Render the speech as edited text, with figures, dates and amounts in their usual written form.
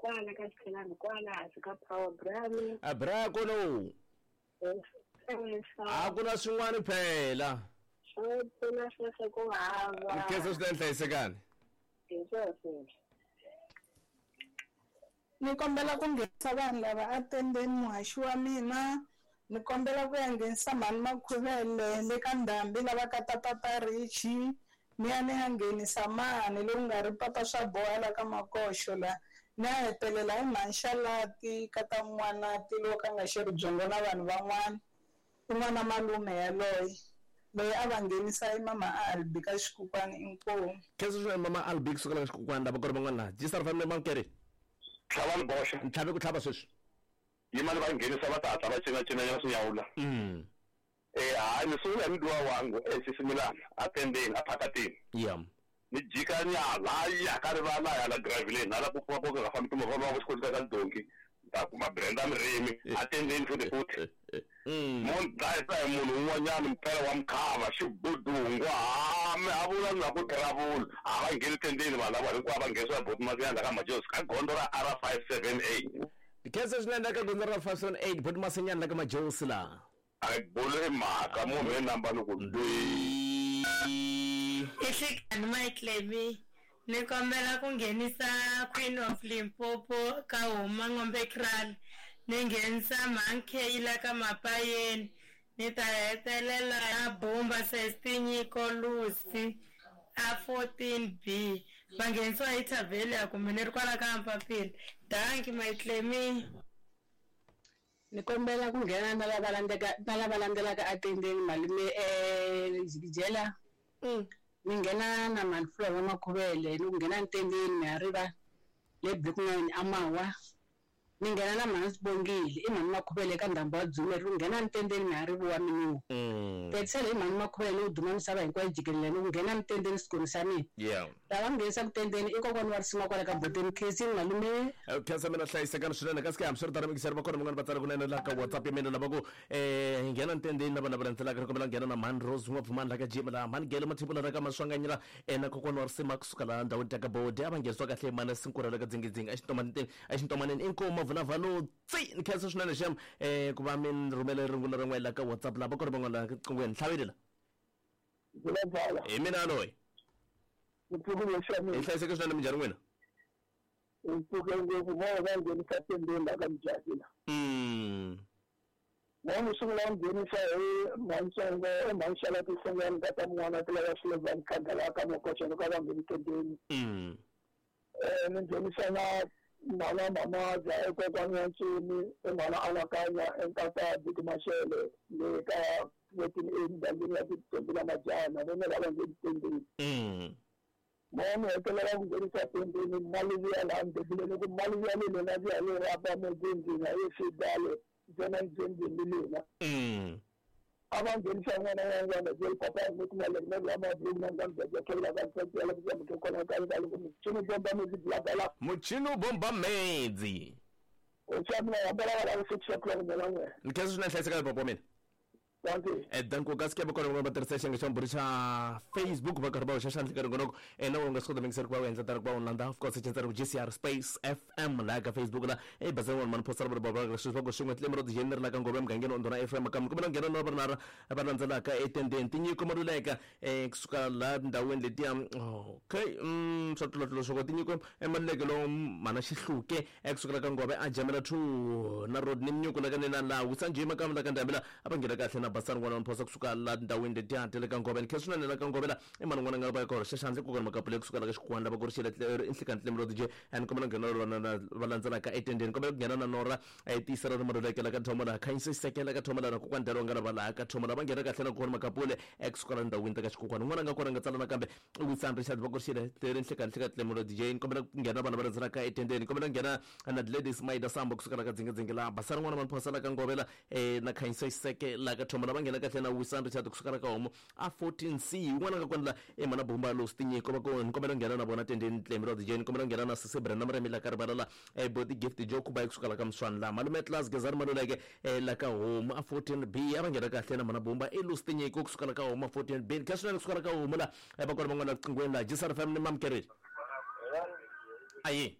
Kwala ka Xikhelani kwala hansi ka Power Brami. A bra kolo. A ku na swin'wana phela. Swo pfuna sweswo ku hava. Nkhensa swinene hlayisekani. Hi swona. Ni kombela ku nghenisa vanhu lava a tendeni muhaxi wa mina. Ni kombela ku ya nghenisa mhani Makhuvele le ka ndhambi lava ka tata Richi. Ni ya ni ya nghenisa mani lowu nga ri papa swa boha la ka Makoxo la. Ni ya hetelela hi mhani Xalati ka ta N'wanati lowu ka nga xeri byongo na vanhu van'wana. I n'wana malume yaloye loyi a va nghenisa i mama Albi ka Xikukwani inkomu. Khensa swinene mama Albi kusuka la ka Xikukwani lava ku ri van'wana laha. G Star Family Mamkeri. Tlhava ni boxa. Ntlhavi ku tlhava sweswi. Yima ni va nghenisa va ta hatla va cina-cinanyana swinyawula. Eh hayi ni sungula hi mudiwa wangu eh Sisimilana a tendeni a phakatini. Yeah. Ni jika nyana ya ka rivala hala graveleni hala ku pfuka ku nga fambi timovha va ku xikoti ka donki ni ta kuma Brenda Murimi a tendeni futhi futhi. Mo ni dlayisa hi munhu un'wanyana mpela wa mkhava xibudungwa ha mi ha vula na ku travel a va ngheni tendeni vanhu lava hinkwavo va nghenisiwa boti Masinyana ka Majozi ka gondzo ra R578. Khensa swinene ka gondzo ra 578 boti Masinyana ka Majozi la. A bolo i mhaka munhu i namba ni ku dwi. Ihlikani Mike ni kombela ku nghenisa Queen of Limpopo ka Huma Ngombe Kraal, ni nghenisa Mankey la ka Mapayeni, ni ta hetelela na Bumba Sestinyiko Lucy a 14B. Va nghenisiwa hi Thavelia kumbe ni ri kwala ka Mpapila. Danki Maitlemi. Ni kombela ku nghena na lava landzeka na lava landzelaka atendeni malume jikijela. Ni nghena na Manfula wa Makhuvele ni ku nghena ntendeni mi ha riva le Block 9 Amawa. Ni nghena na Mhani Sibongile i Mhani Makhuvele ka ndhambi wa Dzumeri ni ku nghena ntendeni mi ha riviwa miniwa. Petisela hi Mhani Makhuvele ni ku duma misava hinkwayo jikelele ni ku nghena ntendeni xikolo xa mina. Yeah. Lava nghenisa ku tendeni i kokwana wa risima kwala ka Boteni Khensini malume. Khensa mina hlayisekani swinene kasi ke hambiswiritano mingiseri va kona van'wana va tsala kunene laha ka WhatsApp ya mina lava ku hi nghena ntendeni lava lava landzelaka ri kombela nghena na Mhani Rose N'wapfumani la ka Jim laha Mhani Gele Mathebula la ka Maswanganyela na kokwana wa risima kusuka laha ndhawini ta ka Bode a va nghenisiwa kahle hi Mhani Sinkura la ka Dzingidzingi exintomaneni inkomu Mavulavalo tsi ni khensa swinene xem ku va mi ni rhumele rungula ra n'we la ka WhatsApp laha va kona van'wana laha qinghweni ntlhaveli la. Vulavula. Hi mina loyi. Ni pfukile xa mina. Hi hlayiseke swinene minjhani n'wina? Ni pfuke ngopfu vo va nghenisa tendeni la ka Mujaki la. Mo ni sungula ku nghenisa hi Mhantsongo i Mhanxala Tisongani ka ta mun'wana ti lava Sullivan Khanda la ka Makoxa loko a va ngheni tendeni. Ni nghenisa na mhana Mamaza i kokwani wa Ntsumi i mhana Anakanya i nkata Buti Mashele le ka fourteen A mugangeni ya Tintombi na Majaha na vona lava ngheni tendeni. Mo ni hetelela ku nghenisa tendeni mali liya laha Ndebele loko mali liya le lena liya yo rhaba mugwengeni a yo fidale ntsena ndzhendzeni lena. A va nghenisa n'wana wa n'wana jeli papa ni ku na le na ma blue na ngam ja kela ka tsela ku ya muthu kona ka ka loko muchini bomba medzi bla bla. Muchini bomba medzi. O tshamela ya bala la ku 6 o'clock mina n'we. Ni khensa swinene hlayiseka papa wa mina. Thank you. Danko kasi ke va kona va tirhisa xiyenge xa mbhuri xa Facebook va karhi va hoxa xandla ka ringonoko na u nga swi kota mingiseri ku va u endla tano ku va u landza of course xitsari ku GCR Space FM laha ka Facebook la e bazeni wa mani postara va va sweswi va ku swin'we tlemi ro tijeni ri la ka ngove emugangeni wa Ndhuna FM kambe kumbe nghena na va va landzelaka etendeni tinyiko maluleka kusuka laha tindhawini letiya okay swa tlulatlula swo tinyiko emaluleke lowu mhana xihluke ekusukela ka ngove a jamela 2 na road ni minyuku la ka nina laha wisanjima kambe la ka ndhambi la a va nghena kahle na basani n'wana wa mphosa kusuka la tindhawini letiya ta le ka ngove ni khe swinene la ka ngove la i mani n'wana nga va ka hoxa xandla kokwana makapule kusuka la ka xikwana lava ku ri xile nhlikani tlemi ro dj and kombela nghena lona va landzelaka etendeni kombela ku nghena na nora tiyisela ri maluleke la ka thomo laha khanyisa xisekela ka thomo laha kokwana dalo nga lava laha ka thomo la va nghena kahle na kokwana makapule ekusuka la ndhawini ta ka xikokwana n'wana nga kona nga tsala nakambe Wisan Richard va ku ri xile leri nhlekani hleka tlemi ro dj ni kombela ku nghena vanhu va landzelaka etendeni kombela ku nghena na Gladys Maida Sambo kusuka la ka dzingedzinge laha basana n'wana va phosa la ka ngovela na khanyisa xiseke la ka thomo la va nghena kahle na Wisan Richard kusuka la ka homo a 14C un'wana nga kona la e mana bomba lo stinyiko va ku ni kombela ku nghena na vona tendeni tlemi ro dj ni kombela ku nghena na Sisi Brenda Muremi la ka rivala la Boti Gift Joe Khuba kusuka la ka Mswani la malume Class Gezani Maluleke la ka homu a 14B a va nghena kahle na mana bomba e lo stinyiko kusuka la ka homu a 14B kha swinene kusuka la ka homu la va kona van'wana la qingweni la GCR FM ni mamkereli ayi.